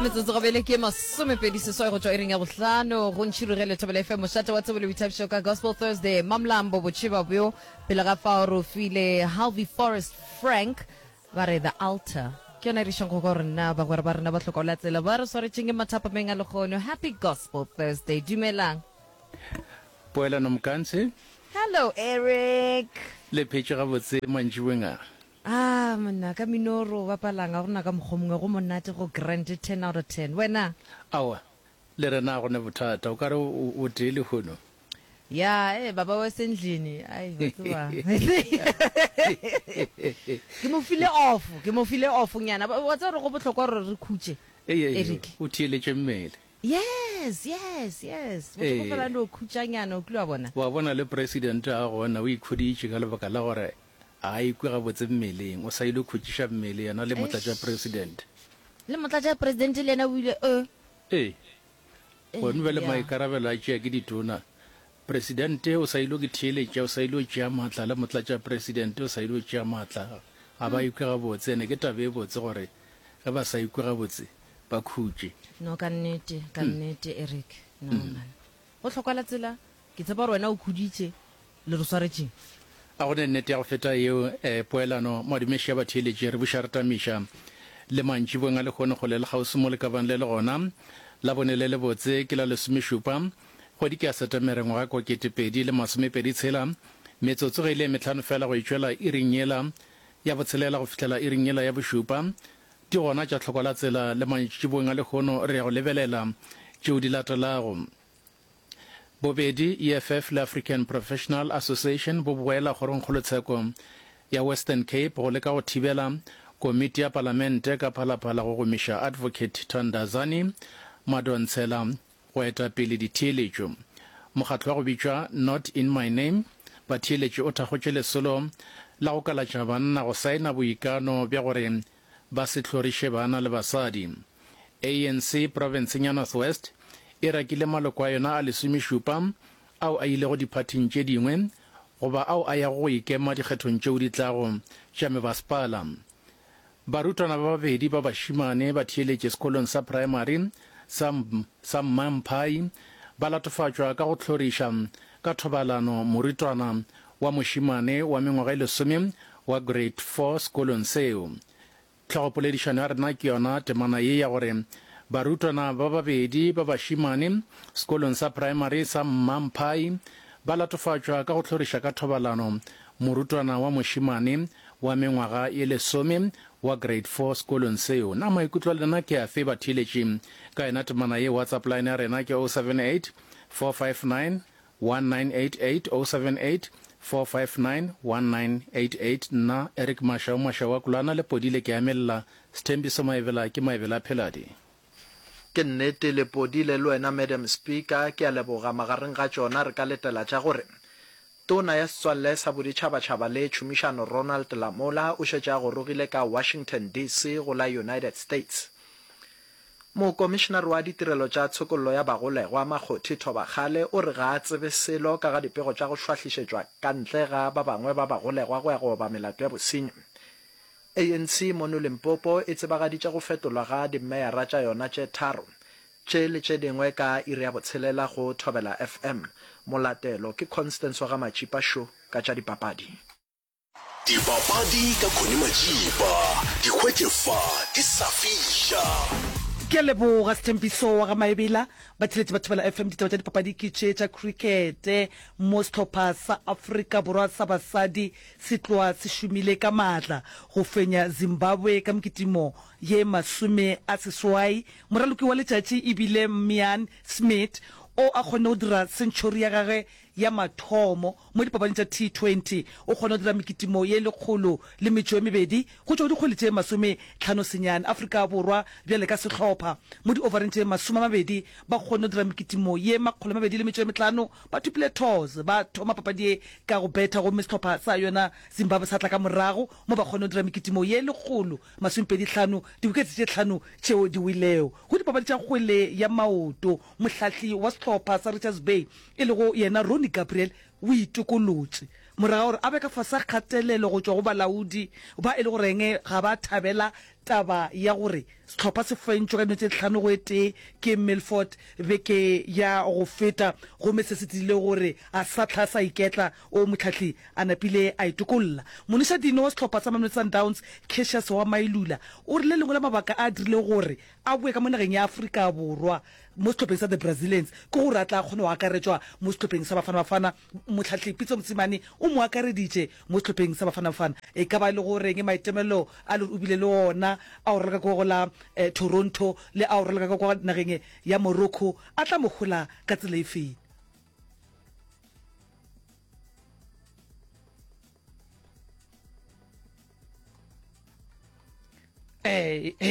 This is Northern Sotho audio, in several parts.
Metsotso gabele ke masomepedi seswai go tšwa iring ya bohlano go ntšhirugele Thobela FM mošate wa tsebo le boithabišo ka Gospel Thursday. Mamlambo botšheba bjo pele ga fao re o file Halvey Forest Frank ba re The Altar. Ke yona e re išang go kwa gore na bagwera ba rena ba hloka la tsela ba re swaretšeng ke mathapameng a lekgono. Happy Gospel Thursday. Dumelang. Poelano Mkansi. Hello Eric. Le phetše gabotse mantšiboeng a? Ah monna, ka mino re o bapalang ga gona ka mokgwa mongwe go monate go grand 10 out of 10. Wena? Aowa, le rena ga go ne bothata. O ka re o tee lehono. Ya, eh baba wa sendlini. Ai, wa tseba. Ke mo file off, ke mo file off nyana. Wa tseba gore go bohlokwa gore re khutše. Eric. O theeletše mmele. Yes, yes, yes. Motho go fela no khutšanyana, o kile wa bona. Wa bona le president a gona o ikhuditše ka lebaka la gore ga a ikwe gabotse mmeleng. O sa ile khutšiša mmele yena le motlatša-president. Le motlatša-president le yena o ile eh. Ee. Gone bjale maikarabelo a tšea ke ditona. Presidente o sa ilo ke theeletša, o sa ilo tšea maatla, le motlatšapresidente o sa ilo tšea maatla. Ga ba ikwe gabotse, ene ke taba e botse gore ge ba sa ikwe gabotse ba khutše. No, ka nnete, ka nnete, Eric. No, man. Go hlokwala tsela. Ke tshepa gore wena o khuditše. Le re swaretšeng? A go ne nnete ya go feta yeo, eh, poelano, madumeši a batheeletši, re buša re tamiša le mantšiboeng a lehono kgole le kgauswi mo le ka bang le le gona. Labone le lebotse ke la lesomešupa, kgwedi ke ya Setemere ngwaga kwa 2023, metsotso ge e le ye mehlano feela go e tšwela iring yela ya botshelela go fihlela iring yela ya bošupa. Di gona tša hlokwa la tsela le mantšiboeng a lehono re ya go lebelela tšeo di latelago. Bobedi EFF le African Professional Association bo boela kgorongkgolotsheko ya Western Cape go leka go thibela komiti ya palamente ka phalaphala go gomiša Advocate Thandazani Madonsela go eta pele ditheeletšo. Mokgatlo wa go bitšwa Not In My Name batheeletši o thakgotše lesolo la go kalatša banna go saena boikano bja gore ba se hloriše bana le basadi. ANC profenseng ya North West e rakile maloko a yona a lesomešupa ao a ilego diphathing tše dingwe goba ao a yago go ikema dikgethong tšeo di tlago tša mebasepala. Barutwana ba babedi ba bašemane ba theeletše sekolong sa praemari sa sa Mmamphai ba latofatšwa ka go hloriša ka thobalano morutwana wa mošemane wa mengwaga e lesome wa Grade Four sekolong seo. Hlogopoledišano ya rena ke yona temana ye ya gore barutwana ba babedi ba bašemane sekolong sa praemari sa Mmamphai ba latofatšwa ka go hloriša ka thobalano morutwana wa mošemane wa mengwaga ye lesome wa Grade Four sekolong seo. Na maikutlo a lena ke afe batheeletši ka yona temana ye? WhatsApp line ya rena ke 078 459 1988 078 459 1988 Nna Eric Mashau Mashau a Kulana le Podile ke amelela Sthembiso Maebela ke Maebela a Pheladi. Ke nnete Lepodile le wena Madam Speaker ke a leboga magareng ga tšona re ka letela tša gore Tona ya Setswalle sa Boditšhabatšhaba le Tšhomišano Ronald Lamola o šetše a gorogile ka Washington DC go la United States. Mokomišenare wa Ditirelo tša Tshokollo ya Bagolegwa, Makgothi Thobakgale, o re ga a tsebe selo ka ga dipego tša go šwahlišetšwa ka ntle ga ba bangwe ba bagolegwa go ya go oba melato ya bosenyi. ANC mono Limpopo e tsebagaditše go fetolwa ga dimeyara tša yona tše tharo, tše le tše dingwe ka iri ya botshelela go Thobela FM. Molatelo ke Constance wa ga Matšipa Sho ka tša dipapadi. Dipapadi ka Connie Majiba, di hwetše fa di sa fiša. Ke a leboga Sthembiso wa ga Maebela. Batheeletši ba Thobela FM, ditaba tša dipapadi ke tše tša krikete mo sehlopha sa Afrika Borwa sa basadi se tloga se šomile ka maatla go fenya Zimbabwe ka mekitimo ye 80. Moraloki wa letšatši e bile Mian Smit o a kgonne go dira century ya gagwe ya mathomo mo dipapading tša T20. O kgona go dira mekitimo ye 102 go tšwa go dikgwele tše 59. Afrika Borwa bjale ka sehlopha mo diovareng tše 20 ba kgonne go dira mekitimo ye 205. Ba thopile toss ba thoma papadi ye ka go betha gomme sehlopha sa yona Zimbabwe sa tla ka morago mo ba kgonne go dira mekitimo ye 125, diwiketse tše hlano tšeo di welego. Go dipapadi tša kgwele ya maoto, mohlahli wa sehlopha sa Richards Bay e lego yena Ronnie Gabriel o itokolotše morago ga gore a be ka fase ga kgatelelo go tšwa go balaodi ba e le goreng ga ba thabela. taba ya gore sehlopha se fentšwe ka dino tše tlhano go e tee ke Milford beke ya go feta gomme se se dirile gore a sa hla sa iketla o mohlahli a napile a itokolla. Monišadino wa sehlopha sa Mamelodi Sundowns, Cassius wa Mailula, o re le lengwe la mabaka a dirile gore a boe ka mo nageng ya Afrika Borwa mo sehlopheng sa The Brazilians ke gore a tla kgone go akaretšwa mo sehlopheng sa Bafana Bafana. Mohlahli Pitso Mosimane o mo akareditše mo sehlopheng sa Bafana Bafana. E ka ba e le go reng maitemelo a le gore o bile le ona a go raloka kwa go la Toronto le a go raloka ka kwa nageng ya Morocco a tla mo hola ka tsela e feng?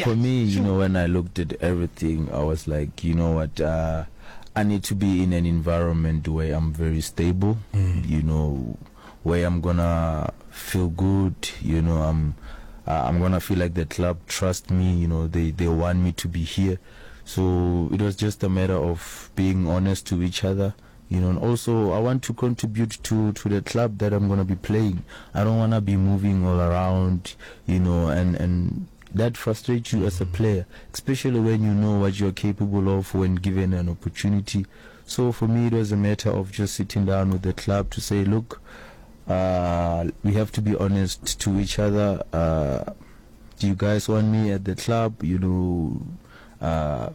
For me, you know, when I looked at everything, I was like, you know what, uh, I need to be in an environment where I'm very stable, mm. you know, where I'm gonna feel good, you know, I'm uh, I'm gonna feel like the club trust me, you know, they they want me to be here. So it was just a matter of being honest to each other you know and also I want to contribute to to the club that I'm going to be playing I don't want to be moving all around you know and and that frustrates you as a player especially when you know what you're capable of when given an opportunity so for me it was a matter of just sitting down with the club to say look uh, we have to be honest to each other uh, do you guys want me at the club you know uh,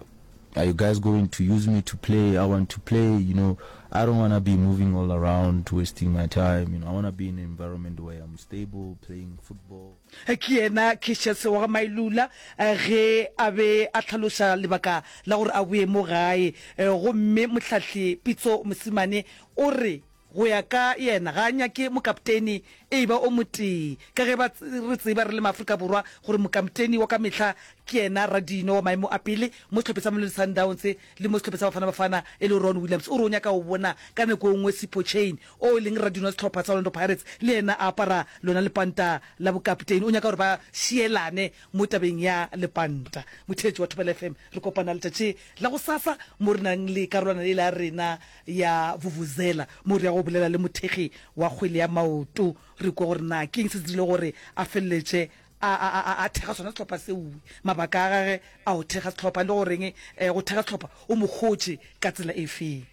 are you guys going to use me to play i want to play you know i don't want to be moving all around wasting my time you know i want to be in an environment where i'm stable playing football Ke yena Cassius wa ga Mailula ge a be a hlaloša lebaka la gore a boye mo gae. Gomme mohlahli Pitso Mosimane o re Go ya ka yena, ga a nyake mokapteni e eba o motee, ka ge ba re tseba re le maAfrika Borwa gore mokampteni wa ka mehla ke yena radino wa maemo a pele mo sehlopheng sa Mamelodi Sundowns le mo sehlopheng sa Bafana Bafana e le Ron Williams. O re o nyaka go bona ka nako e nngwe Sipho Chaine o e leng radino wa sehlopha sa Orlando Pirates le yena a apara lona lepanta la bokapteni. O nyaka gore ba šielane mo tabeng ya lepanta. Motheetši wa Thobela FM, re kopana letšatši la gosasa mo re nang le karolwana yela ya rena ya vuvuzela mo re ya go bolela le mothekgi wa kgwele ya maoto re kwe gore na ke eng se se dirile gore a feleletše a, a, a, a thekga sona sehlopha seo, mabaka a gage a go thekga sehlopha le goreng eh, go thekga sehlopha o mo hotše ka tsela e feng.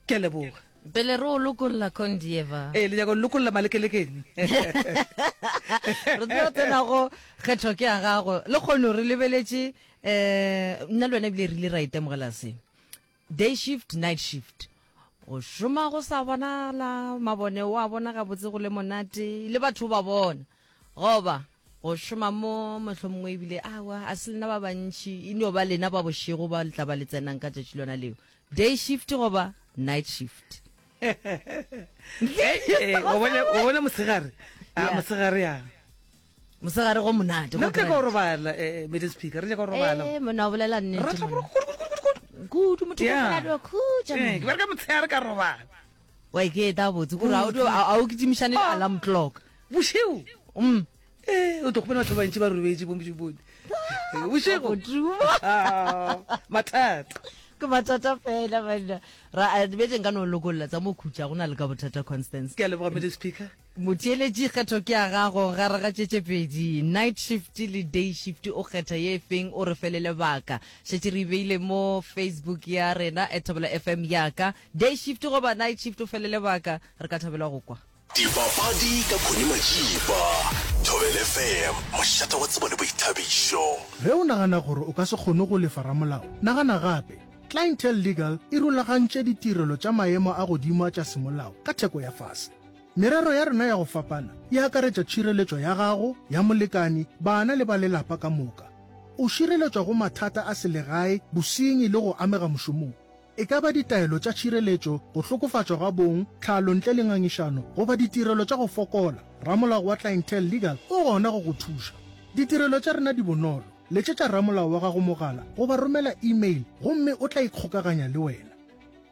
Ke a leboga. Pele re o lokolla Condieva. Ee, le nyaka go lokolla malekelekeng. Re tlo tsena go kgetho ke ya gago. Le kgono re lebeletše um nna le wena ebile re ile ra itemogela se. Day shift, night shift. Go šoma go sa bonala, mabone o a bona gabotse go le monate, le batho o ba bona. Goba go šoma mo mohlomongwe ebile awa a se lena ba bantši, e no ba lena ba bošego ba le tla ba le tsenang ka tšatši lona leo. Day shift goba night shift. Wa bona mosegare, a mosegare ya. Mosegare go monate. Nna ke go robala eh, eh Madam Speaker, re nyaka go robala. Eh, monna o bolela nnete. Re tla kudu motho go fela do khutša. Eh, ke bereka motshehare ka robala. Wa ke eta botse gore a o a o kitimišane le alarm clock. Bošego. Mm. Eh, o tlo kgopela batho ba bantši ba robetše bo mošupone. Eh, bošego. Ah, mathata. Ke mathata fela banna. Ra betse nka no lokolla tsa mo khutša go na le ka bothata Constance. Ke a leboga Madam Speaker. Motheeletši, kgetho ke ya gago gare ga tše tše pedi, night shift le day shift, o kgetha ye efeng o re fele lebaka. Šetše re e beile mo Facebook ya rena at Thobela FM ya ka. Day shift goba night shift o fele lebaka, re ka thabela go kwa. Dipapadi ka Connie Majiba, Thobela FM, mošate wa tsebo le boithabišo. Ge o nagana gore o ka se kgone go lefa ramolao, nagana gape. Clientele Legal e rulagantše ditirelo tša maemo a godimo a tša semolao ka theko ya fase. Merero ya rena ya go fapana e akaretša tšhireletšo ya gago, ya molekani, bana le ba lelapa ka moka. O šireletšwa go mathata a selegae, bosenyi le go amega mošomong. E ka ba ditaelo tša tšhireletšo, go hlokofatšwa ga bong, tlhalo ntle le ngangišano goba ditirelo tša go fokola, ramolao wa Clientele Legal o gona go go thuša. Ditirelo tša rena di bonolo, letšetša ramolao wa gago mogala goba romela email gomme o tla ikgokaganya le wena.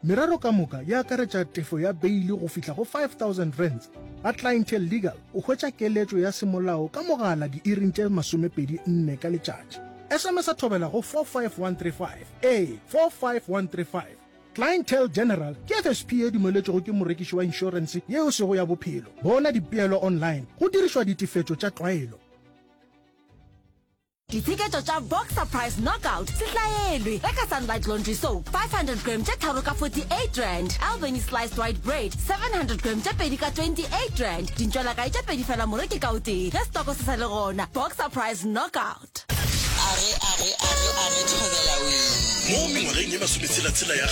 Merero ka moka e akaretša tefo ya beili go fihla go R5000. Ga Clientele Legal o hwetša keletšo ya semolao ka mogala diiring tše 24 ka letšatši. SMS-a thobela go 45135. Ee, 45135. Clientele General ke FSP ye dumeletšwego ke morekiši wa inšorense ye e sego ya bophelo. Bona dipeelo online go dirišwa ditefetšo tša tlwaelo. Ditsheketšo tša Boxer Price Knockout se hlaelwe. Reka Sunlight Laundry Soap 500 gram tše tharo ka R48, Albany Sliced White Bread 700 gram tše pedi ka R28, dintšwelakae tše pedi fela moreki ka o tee ge stoko se sa le gona. Boxer Price Knockout. Age, age, age, age, thobela wee. Mo mengwageng ye masometshela-tshela ya.